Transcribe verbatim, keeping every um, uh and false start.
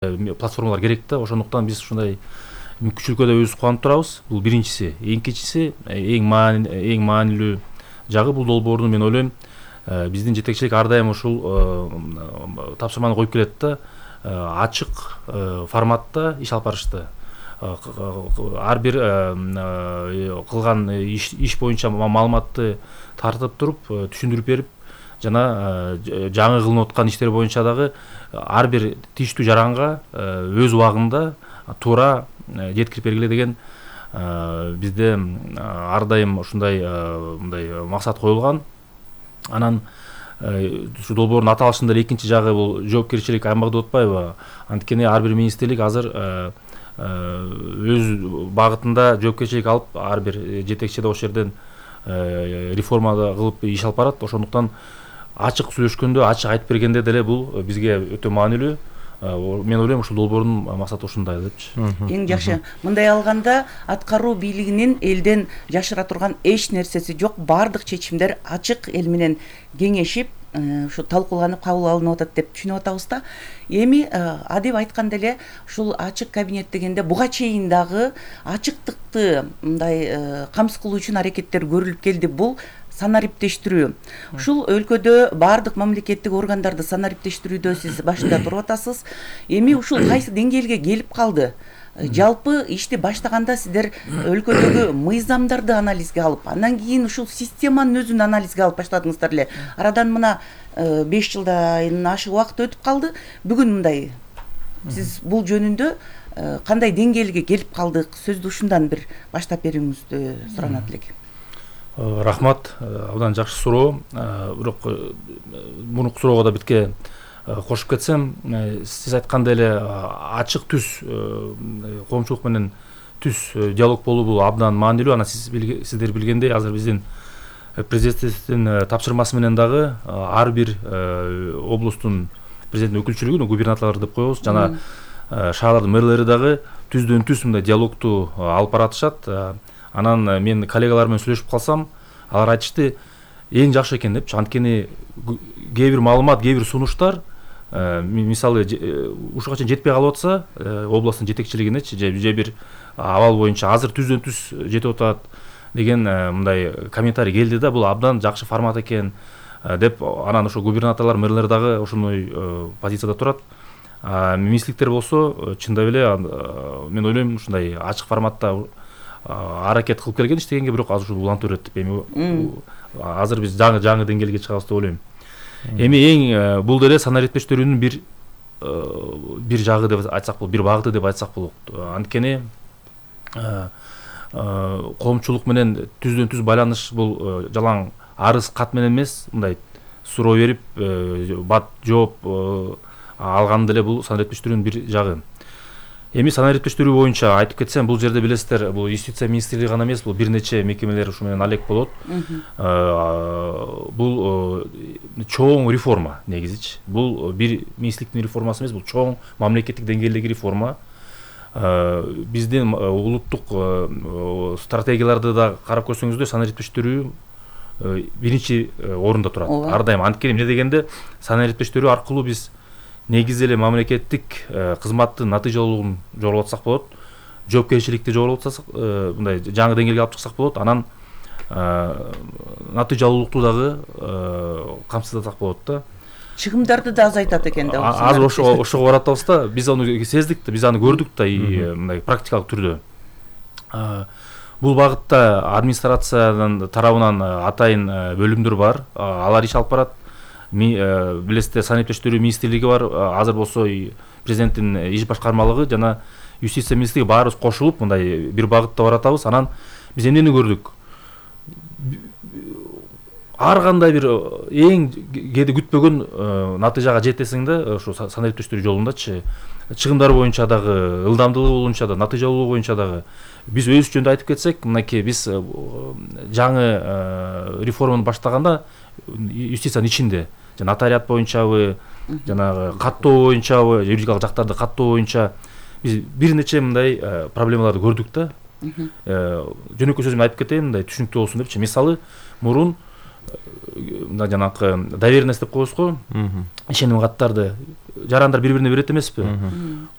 платформалар керек да. Ошондуктан биз ушундай мүмкүнчүлүккө да өзүбүз кубанып турабыз. Бул биринчиси. Экинчиси эң маани эң маанилүү жагы бул долбоордун мен ойлойм биздин жетекчилик ар дайым ушул тапшырманы коюп келет да. Ачык форматта иш алып барышты. Ар бир кылган иш боюнча маалыматты тартып туруп, түшүндүрүп берип, жана жаңы кылынып аткан иштер боюнча дагы ар бир тийиштүү жаранга өз убагында туура жеткирип бергиле деген бизде ар дайым ушундай мындай максат коюлган. Анан ушу долбоордун аталышында эле экинчи жагы бул жоопкерчилик Аймагүл Отбаева. Анткени ар бир министрлик азыр өз багытында жоопкерчилик алып, ар бир жетекчи да ошол жерден реформа кылып иш алып барат. Ошондуктан ачык сүйлөшкөндө, ачык айтып бергенде деле бул бизге өтө маанилүү. Мен ойлойм ушул долбоордун максаты ушундай депчи. Эң жакшы. Мындай алганда аткаруу бийлигинин элден жашыра турган эч нерсеси жок. Бардык чечимдер ачык эл менен кеңешип, ушу талкууланып кабыл алынып атат деп түшүнүп атабыз да. Эми адеп айтканда эле ушул ачык кабинет дегенде буга чейин дагы ачыктыкты мындай камсыз кылуу үчүн аракеттер көрүлүп келди. Бул санариптештирүү. Ушул өлкөдө бардык мамлекеттик органдарды санариптештирүүдө сиз башында туруп атасыз. Эми ушул кайсы деңгээлге келип калды? Жалпы ишти баштаганда сиздер өлкөдөгү мыйзамдарды анализге алып, андан кийин ушул системанын өзүн анализге алып баштадыңыздар эле. Арадан мына беш жылдан ашык убакыт өтүп калды. Бүгүн мындай сиз бул жөнүндө кандай деңгээлге келип калдык? Сөздү ушундан бир баштап берүүңүздү суранат элек. Рахмат, абдан жакшы суроо. Бирок мурунку суроого да битке кошуп кетсем, сиз айткандай эле ачык түз коомчулук менен түз диалог болуу бул абдан маанилүү. Анан сиз сиздер билгендей, азыр биздин президенттин тапшырмасы менен дагы ар бир облустун президенттин өкүлчүлүгү, губернаторлор деп коебуз, жана шаарлардын мэрлери дагы түздөн түз мындай диалогту алып баратышат. Анан мен коллегалар менен сүйлөшүп калсам, алар айтышты эң жакшы экен депчи. Анткени кээ бир маалымат, кээ бир сунуштар мисалы ушуга чейин жетпей калып атса, областтын жетекчилигинечи же бир абал боюнча азыр түздөн түз жетип атат деген мындай комментарий келди да. Бул абдан жакшы формат экен деп. Анан ошо губернаторлор, мэрлер дагы ошондой позицияда турат. Министрликтер болсо чындап эле мен ойлойм ушундай ачык форматта аракет кылып келген иштегенге, бирок азыр ушул улантып берет деп. Эми азыр биз жаңы жаңы деңгээлге чыгабыз деп ойлойм. Эми эң бул деле санариптештирүүнүн бир бир жагы деп айтсак болот, бир багыты деп айтсак болот. Анткени коомчулук менен түздөн түз байланыш бул жалаң арыз кат менен эмес, мындай суроо берип, бат жооп алганда эле бул санариптештирүүнүн бир жагы. Эми санариптештирүү боюнча айтып кетсем, бул жерде билесиздер, бул юстиция министрлиги гана эмес, бул бир нече мекемелер ушу менен алек болот. Бул чоң реформа негизичи. Бул бир министрликтин реформасы эмес, бул чоң мамлекеттик деңгээлдеги реформа. Биздин улуттук стратегияларды да карап көрсөңүздөр, санариптештирүү биринчи орунда турат. Ар дайым. Анткени эмне дегенде, санариптештирүү аркылуу биз негизи эле мамлекеттик кызматтын натыйжалуулугун жоготсак болот, жоопкерчиликти жоготсак, мындай жаңы деңгээлге алып чыксак болот. Анан натыйжалуулукту дагы камсыздасак болот да. Чыгымдарды да азайтат экен да. Азыр ошо ошого баратабыз да. Биз аны сездик да, биз аны көрдүк да, мындай практикалык түрдө. Бул багытта администрациянын тарабынан атайын бөлүмдөр бар. Алар иш алып барат. Билесиздер, санариптештирүү министрлиги бар. Азыр болсо президенттин иш башкармалыгы жана юстиция министрлиги баарыбыз кошулуп мындай бир багытта баратабыз. Анан биз эмнени көрдүк? Ар кандай бир эң кээде күтпөгөн натыйжага жетесиң да, ошо санариптештирүү жолундачы. Чыгымдар боюнча дагы, ылдамдуулугу боюнча да, натыйжалуулугу боюнча дагы. Биз өз жөнүндө айтып кетсек, мынакей биз жаңы реформаны баштаганда юстициянын ичинде, жана нотариат боюнчабы, жанагы каттоо боюнчабы, юридикалык жактарды каттоо боюнча биз бир нече мындай проблемаларды көрдүк да. Жөнөкөй сөз менен айтып кетейин, мындай түшүнүктүү болсун депчи. Мисалы, мурун мына жанакы доверенность деп коебуз го, ишеним каттарды жарандар бири бирине берет эмеспи?